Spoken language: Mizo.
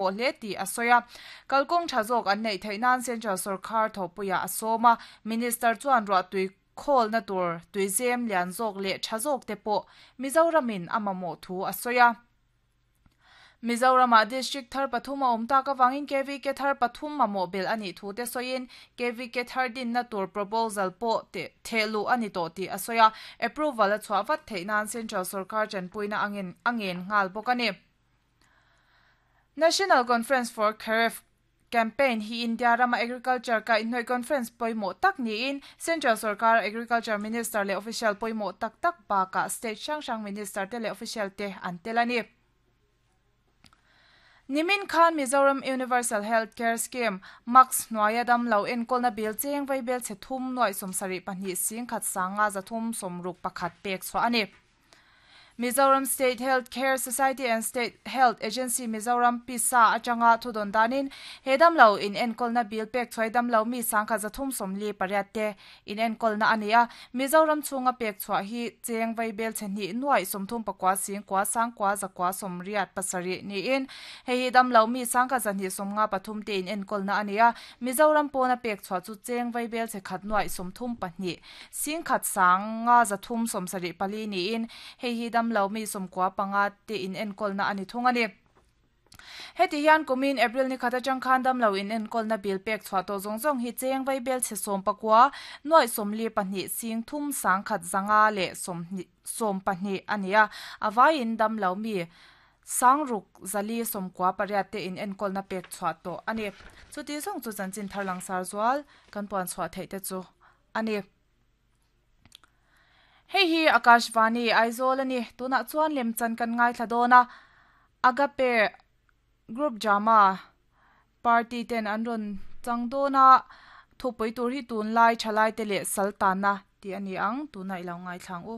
Pawh hle tih a sawi a. Kalkawng tha zawk an neih theih nan Central sawrkar thawhpuiah a sawm a, Minister chuan ruahtui khawlna tur tuizem lian zawk leh tha zawk te pawh Mizoramin a mamawh thu a sawi a. Mizoramah District thar pathum a awm tak avangin KVK thar pathum mamawh belh a nih thu te sawiin KVK thar dinna tur proposal pawh thehluh a ni tawh tih a sawi a, approval a chhuah vat theih nan Central sawrkar tanpuina a ngen nghal bawk a ni. National Conference for Kharif Campaign hi India rama Agriculture kaihhnawih conference pawimawh tak niin Central sorkara Agriculture Minister leh official pawimawh tak tak bakah state hrang hrang Minister te leh official te an tel a ni. Nimin khan Mizoram Universal Health Care Scheme, MACS, hnuaia damlo enkawlna bill cheng vaibel chhe thum nuaih sawmsarih pahnih singkhat sanga zathum sawmruk pakhat pek chhuah a ni. Mizoram State Health Care Society and State Health Agency Mizoram, PISA, atanga thudawn danin he damlo inenkawlna bill pek chhuai damlo mi sangkhat 348 te inenkawlna a ni a. Mizoram chhunga pek chhuah hi cheng vaibel chhe hnih nuaih sawmthum pakua sing kua sang kua zakua sawmriat pasarih niin hei hi damlo mi sangkhat 253 te inenkawlna a ni a. Mizoram pawna pek chhuah chu cheng vaibel chhe khat nuaih 32 Singkhat sang nga zathum sawmsarih pali niin hei hi damlo mi sawmkua panga te inenkawlna a ni thung a ni. Heti hian kumin April ni khat atang khan damlo inenkawlna bill pek chhuah tawh zawng zawng hi cheng vaibel chhe sawm pakua, nuaih sawmli pahnih sing thum sangkhat zanga leh sawmhnih sawm pahnih a ni a, a vaiin damlo mi Sangruk zali sawmkua pariat te in enkawlna pek chhuah tawh a ni. Chuti zawng chu chanchin thar langsar zual kan puan chhuah theih te chu a ni. Hei hi Akashvani Aizawl a ni. Tunah chuan lemchan kan ngaithla dawn a, Agape Group Drama Party ten an rawn chang dawn a, thupui tur hi tunlai thalaite leh sal tanna tih a ni ang. Tunah i lo ngaithla ang u.